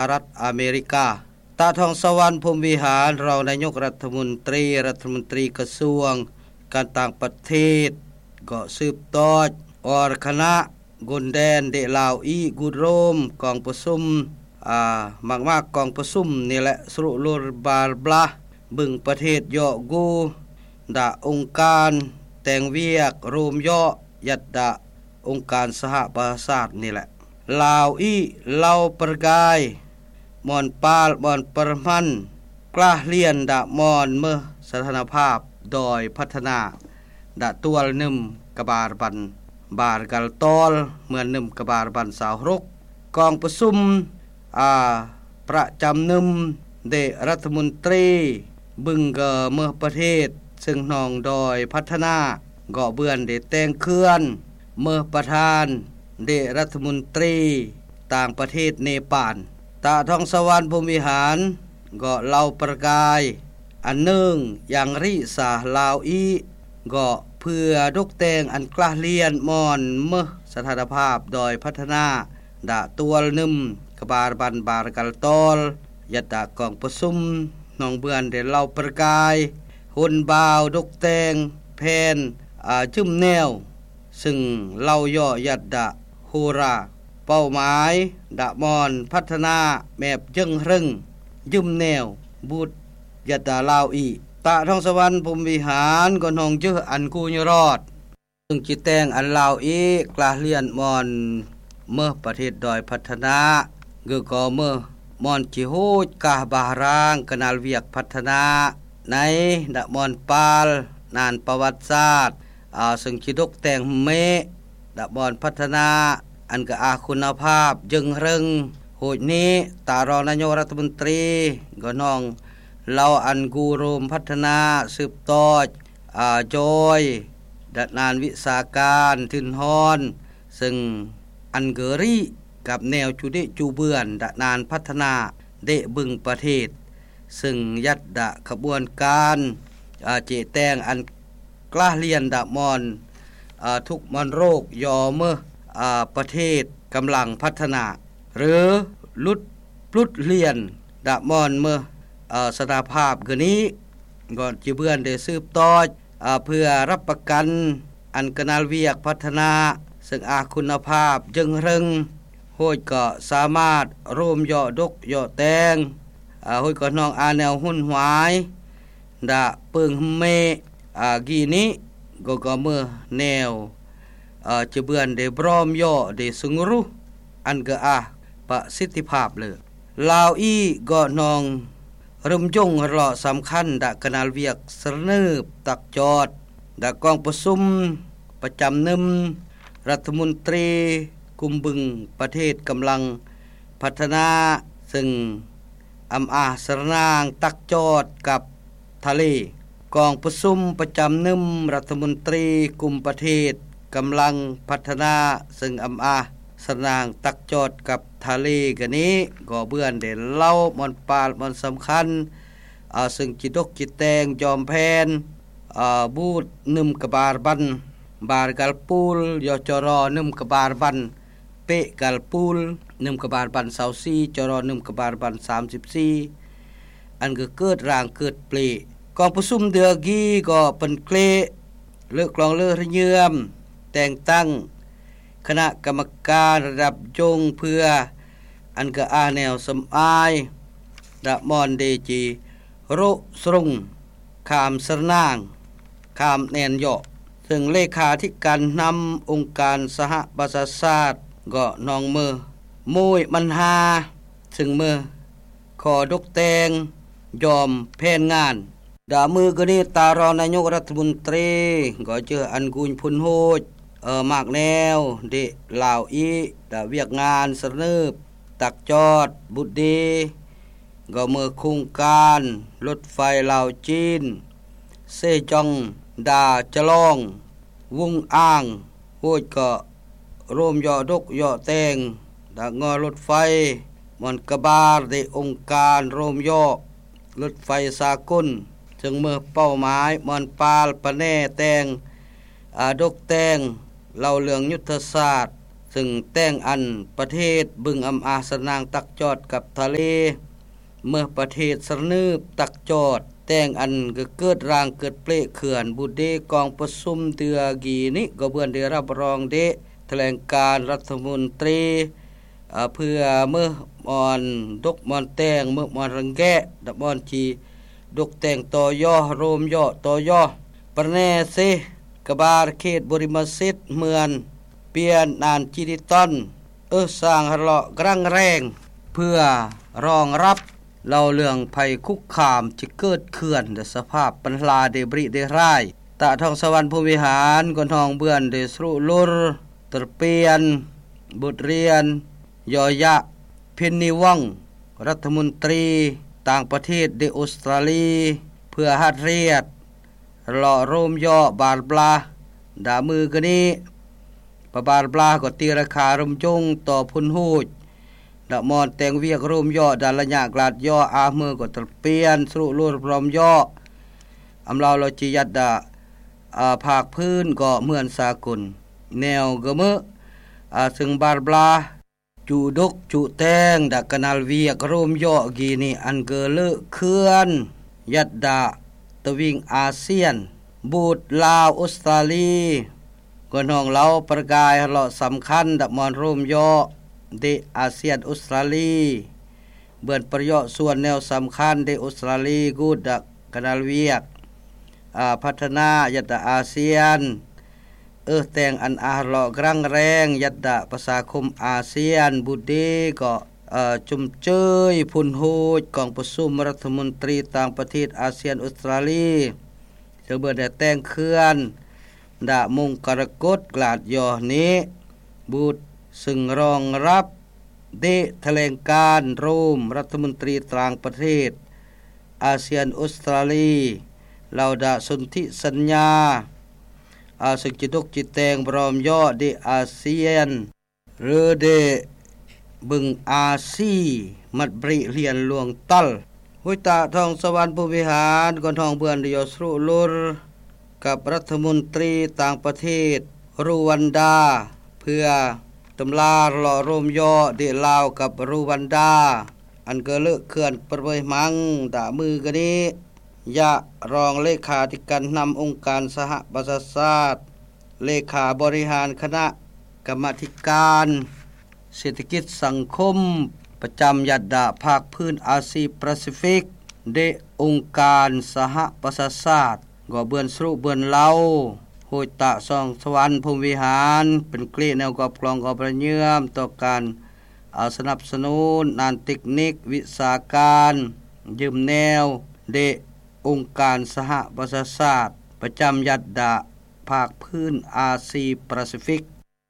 ຫະລັດອາເມລິກາ. ຕາທອງສະຫວັນ ພົມວິຫານ ຮອງນາຍົກລັດຖະມົນຕີ, ລັດຖະມົນຕີກະຊວງການຕ່າງປະເທດ ກໍສືບຕໍ່ອອກຄະນະ ກົນແດນເດລາວອີກ ກູດໂຣມ ກອງປະຊຸມ ອາ ມາກໆ ກອງປະຊຸມນີ້ແຫຼະ ສຣຸລຸລບາລບລາ ບຶງປະເທດເຍາະກູ ດາອົງການແຕ່ງວຽກໂຣມເຍາະ ຍັດດາອົງການສະຫະປະຊາຊາດນີ້ແຫຼະ. ລາວອີ ເລົ່າປະກາຍ ມອນປາລ ມອນປະມັນ ກລາຮຽນດາມອນເມີສະຖານະພາບດອຍພັດທະນາ ດາຕົວລະໜຶ່ມກະບາລບັນ ບາລກັນຕອນ ເມືອນໜຶ່ມກະບາລບັນຊາວຫົກ ກອງປະຊຸມ ອາ ປະຈຳໜຶ່ມເດລັດຖະມົນຕີ ບຶງກະເມີປະເທດ ເຊິ່ງນອງດອຍພັດທະນາ ກໍເບືອນເດແຕ່ງເຂື່ອນ ເມີປະທານເດລັດຖະມົນຕີຕ່າງປະເທດເນປານ. ຕາທອງສະຫວັນ ພົມວິຫານ ກໍເລົ່າປະກາຍ ອັນໜຶ່ງ ຍັງຣິສາລາວອີ ກໍເພື່ອດົກແຕ່ງອັນກລາຮຽນມອນເມີສະຖານະພາບດອຍພັດທະນາ ດາຕົວລະໜຶ່ມກະບາລບັນ ບາລກັນຕອນ ຍັດດາກອງປະຊຸມ ນອງເບືອນເດເລົ່າປະກາຍ ຫົນບ່າວດົກແຕ່ງແຜນ ອາ ຈືມແນວ ເຊິ່ງເລົ່າເຍາະຍັດດາໂຮລາ ເປົ້າໝາຍດາມອນພັດທະນາແມບເຢິງເຮິງ ຢືມແນວ ບູດ ຍັດດາລາວອີ. ຕາທອງສະຫວັນ ພົມວິຫານ ກໍນອງເຈີອັນກູຍຣອດ ເຊິ່ງຈິແຕ່ງອັນລາວອີກ ກລາຮຽນມອນເມີປະເທດດອຍພັດທະນາ ຄືກໍເມີມອນຈິໂຮດກາບາຮາງກະນາລວຽກພັດທະນາ ໃນດາມອນປາລນານປະຫວັດສາດ ອາ ເຊິ່ງຈິດົກແຕ່ງເມດາມອນພັດທະນາ ອັນກະອາຄຸນນະພາບເຢິງເຮິງ ໂຫດນີ້ ຕາຮອງນາຍົກລັດຖະມົນຕີ ກໍນອງເລົ່າອັນກູໂຣມພັດທະນາ ສືບຕໍ່ ອາ ຈອຍ ດານານວິຊາການທຶນຮອນ ເຊິ່ງອັນເກີຣີກັບແນວຈູເດະຈູເບືອນດານານພັດທະນາເດະບຶງປະເທດ ເຊິ່ງຍັດດາຂະບວນການ ອາ ເຈແຕ່ງອັນກລາຮຽນດາມອນ ອາ ທຸກມອນໂລກ ຍໍເມີ ອາ ປະເທດກຳລັງພັດທະນາ ຫຼື ຫຼຸດປຸດລຽນດາມອນເມີ ອາ ສະຖາພາບຄືນີ້ ກໍຈິເບືອນໄດ້ສືບຕໍ່ ອາ ເພື່ອຮັບປະກັນອັນກະນາລວຽກພັດທະນາ ເຊິ່ງອາຄຸນນະພາບເຢິງເຮິງ ໂຫດກໍສາມາດໂຣມເຍາະດົກເຍາະແຕ່ງ ອາ ໂຫດກໍນ້ອງອາແນວຮຸນຫວາຍ ດາເປິງເມ ອາ ກີນີ້ ກໍກໍເມີແນວ ອາ ຈະເບືອນໄດ້ບຣອມເຍາະໄດ້ສະຫງຣຸ ອັນກະອາປະສິດທິພາບເລີຍ. ລາວອີກກໍນ້ອງ ເລີ່ມຍົງເລາະສຳຄັນດາກະນາລວຽກສະເໜີຕັກຈອດ ດາກອງປະຊຸມປະຈຳໜຶ່ມລັດຖະມົນຕີກຸ່ມບຶງປະເທດກຳລັງພັດທະນາ ເຊິ່ງອຳອາສະນາງຕັກຈອດກັບທະເລ ກອງປະຊຸມປະຈຳໜຶ່ມລັດຖະມົນຕີກຸ່ມປະເທດກຳລັງພັດທະນາ ເຊິ່ງອຳອາສະນາງຕັກຈອດກັບທະເລກະນີ້ ກໍເບືອນໄດ້ເລົ່າມອນປານມອນສຳຄັນ ອາ ເຊິ່ງຈິດົກຈິແຕ່ງຈອມແຜນ ອາ ບູດໜຶ່ມກະບາລບັນ ບາລກັນປູລ ຢ ຈຣ ໜຶ່ງກະບາລບັນ ເປກກັນປູລ ໜຶ່ງກະບາລບັນຊາວສີ່ ຈຣ ໜຶ່ງກະບາລບັນສາມສິບສີ່ ອັນກະເກີດຮ່າງເກີດເປລ ກອງປະຊຸມເດືອກີກໍເປັນເກລ ເລີກລອງເລີກລະເຍືອມ ແຕ່ງຕັ້ງຄະນະກຳມະການລະດັບຍົງເພື່ອ ອັນກະອາແນວສຳອາຍ ດາມອນເດຈີໂຣະສຣຸງ ຂາມສະນາງ ຂາມແນນເຍາະ ເຊິ່ງເລຂາທິການນຳອົງການສະຫະປະຊາຊາດ ກໍນ້ອງເມີ ໂມຍມັນຫາ ເຊິ່ງເມີ ຂໍດົກແຕ່ງ ຍອມແຜນງານ. ດາມື້ກະນີ້ ຕາຮອງນາຍົກລັດຖະມົນຕີ ກໍເຈີອັນກຸນພຸນໂຮດ ເອີ ມາກແນວ ເດ ລາວອີ ດາວຽກງານສະເໜີ ຕັກຈອດ ບຸດດີ ກໍເມີໂຄງການລົດໄຟລາວຈີນ ເຊຈອງ ດາຈະລອງ ວົງອາງ ໂຫດກໍ ໂຣມເຍາະດົກເຍາະແຕ່ງ ດາງໍລົດໄຟ ມອນກະບາລ ເດອົງການໂຣມເຍາະລົດໄຟສາກົນ ເຊິ່ງເມີເປົ້າໝາຍ ມອນປາລປະແນແຕ່ງ ອາ ດົກແຕ່ງ ເລົ່າເລື່ອງຍຸດທະສາດ ຊຶ່ງແຕ່ງອັນປະເທດບຶງອຳອາສະນາງຕັກຈອດກັບທະເລ ເມືອປະເທດສະໜືບຕັກຈອດ ແຕ່ງອັນກະເກີດຮ່າງເກີດເປເຂື່ອນບຸດເດກອງປະຊຸມເທື່ອກີ້ນີ້ ກໍເບືອນໄດ້ຮັບຮອງເດ ຖະແຫຼງການລັດຖະມົນຕີ ເພື່ອເມືອມອນດົກມອນແຕ່ງ ເມືອມອນຣັງແກະ ດະມອນຈີ ດົກແຕ່ງຕໍ່ຍໍໂຮມຍໍຕໍ່ຍໍ ປະແນເຊ ກະບາລເຂດບໍລິມະສິດ ເມືອນ ປຽນອານຈີດິຕອນ ເອີສາງຮະເລາະກຣາງແຮງ ເພື່ອຮອງຮັບເລົ່າເລື່ອງໄພຄຸກຄາມຈະເກີດເຂື່ອນ ແລະ ສະພາບບັນລາເດບຣິເດຮາຍ ຕະທອງສະຫວັນພົມວິຫານ ກໍນອງເບືອນໄດ້ສະລຸລຸລ ຕະປຽນ ບົດຮຽນ ຍໍຍະ ເພັນນີວັງ ລັດຖະມົນຕີຕ່າງປະເທດເດອົດສະຕຣາລີ ເພື່ອຮັດຮຽດ ເລາະໂຮມຍໍບາລບລາ ດາມືກະນີ້ ປະບາລບລາກໍຕີລາຄາລົມຈົງຕໍ່ພຸນໂຮດ ດະມອນແຕ່ງວຽກໂຮມຍໍດາລະຍະກລາດຍໍອາເມີກໍຕະປຽນສະລຸລຸລພຣອມຍໍ ອຳລາວລາວຈີຍັດດາ ອາ ພາກພື້ນກໍເໝືອນສາກົນ ແນວກະເມີ ອາ ຊຶ່ງບາລບລາ ຈູດົກຈຸແຕງດາກະນາລວຽກໂຮມຍໍກີນີ້ ອັນເກີເລີເຂື່ອນ ຍັດດາຕະວິງອາຊຽນ ບູດລາວອົດສະຕຣາລີ ກໍນອງເລົ່າປະກາຍຮະເລາະສຳຄັນດະມອນໂຮມຍໍເດອາຊຽນອົດສະຕຣາລີ ເບືອນປະເຍາະສ່ວນແນວສຳຄັນເດອົດສະຕຣາລີ ກູດດາກະນາລວຽກ ອາ ພັດທະນາຍັດດາອາຊຽນ ເອີແຕ່ງອັນອາຮະເລາະກຣາງແຮງ ຍັດດາປະຊາຄົມອາຊຽນ ບຸດເດກໍ ເອີ ຊົມເຊີຍພຸນໂຮດກອງປະຊຸມລັດຖະມົນຕີຕ່າງປະເທດອາຊຽນອົດສະຕຣາລີ ເຊິ່ງເບືອນໄດ້ແຕ່ງເຂື່ອນ ດາມົງກະລະກົດກລາດຍໍນີ້ ບຸດ ຊຶ່ງຮອງຮັບ ເດຖະແຫຼງການໂຮມລັດຖະມົນຕີຕ່າງປະເທດອາຊຽນອົດສະຕຣາລີ ລາວດາສົນທິສັນຍາ ອາ ຊຶ່ງຈະດົກຈະແຕ່ງບຣອມຍໍເດອາຊຽນ ຫຼືເດບຶງອາຊີ ມັດບຣິຮຽນຫຼວງຕັນ ຫ້ວຍຕະທອງສະຫວັນພູວິຫານ ກໍນອງເບືອນໄດ້ຍໍສະລຸລຸລ ກັບລັດຖະມົນຕີຕ່າງປະເທດ ຣູວັນດາ ເພື່ອຕຳລາເລາະໂຮມຍໍເດລາວກັບຣູວັນດາ ອັນເກີເລີເຂື່ອນປະເວີຍມັງ ດາມືກະນີ້ ຍະ ຮອງເລຂາທິການນຳອົງການສະຫະປະຊາຊາດ ເລຂາບໍລິຫານຄະນະກຳມາທິການເສດຖະກິດສັງຄົມ ປະຈຳຍັດດາພາກພື້ນອາຊີປາຊີຟິກ ເດອົງການສະຫະປະຊາຊາດ ກໍເບືອນສະລຸເບືອນເລົ່າ ໂຮຍຕະຊອງສະຫວັນພົມວິຫານ ເປັນເກລະແນວກອບກລອງກອບລະເຍືອມຕໍ່ການ ອາ ສະໜັບສະໜູນດ້ານເຕັກນິກວິຊາການ ຢືມແນວເດອົງການສະຫະປະຊາຊາດ ປະຈຳຍັດດາພາກພື້ນອາຊີປາຊີຟິກ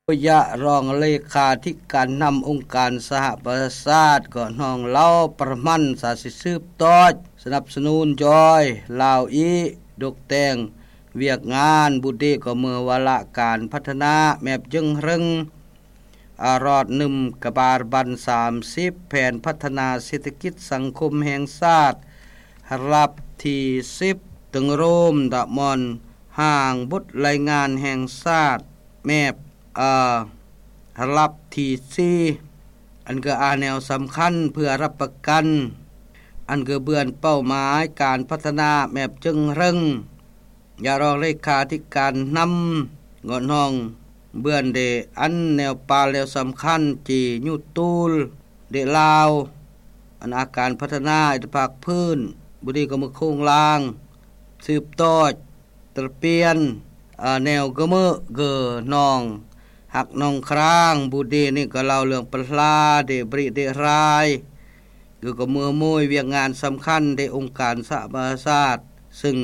ໂດຍຍະ ຮອງເລຂາທິການນຳອົງການສະຫະປະຊາຊາດ ກໍນອງເລົ່າປະມານສາຊິສືບທອດ ສະໜັບສະໜູນຢອຍລາວອີ ດົກແຕ່ງວຽກງານ ບຸດເດກໍເມືອວາລະການພັດທະນາແມບເຈິງເຮິງ ອາ ຮອດໜຶ່ງກະບາລບັນສາມສິບ ແຜນພັດທະນາເສດຖະກິດສັງຄົມແຫ່ງຊາດ ລະດັບທີສິບ ຕຶງໂຮມ ດະມອນຮ່າງບົດລາຍງານແຫ່ງຊາດ ແມບ ອາ ລະດັບທີສີ່ ອັນກະອາແນວສຳຄັນເພື່ອຮັບປະກັນ ອັນກະເບືອນເປົ້າໝາຍການພັດທະນາແມບເຈິງເຮິງ ຍະ ຮອງເລຂາທິການນຳ ເງາະນອງເບືອນເດ ອັນແນວປານແລວສຳຄັນ ຈີຍຸຕູລ ເດລາວ ອັນອາການພັດທະນາເອກພາກພື້ນ ບຸດີກະເມືອໂຄງລ່າງ ສືບຕໍ່ ຕະປຽນ ອາ ແນວກະເມີ ເກີ ນອງ ຮັກນອງຄຣາງ ບຸດີນີ້ກໍເລົ່າເລື່ອງປະລາ ເດບຣິເດຮາຍ ເກີກະເມືອໂມຍວຽກງານສຳຄັນເດອົງການສະຫະປະຊາຊາດ ຊຶ່ງ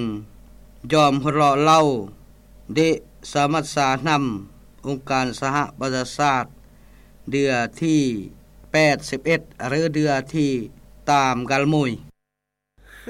ຍອມຮະເລາະເລົ່າ ເດສະມັດສານຳອົງການສະຫະປະຊາຊາດ ເດືອທີແປດສິບເອັດ ຫຼື ເດືອທີຕາມກາລໂມຍ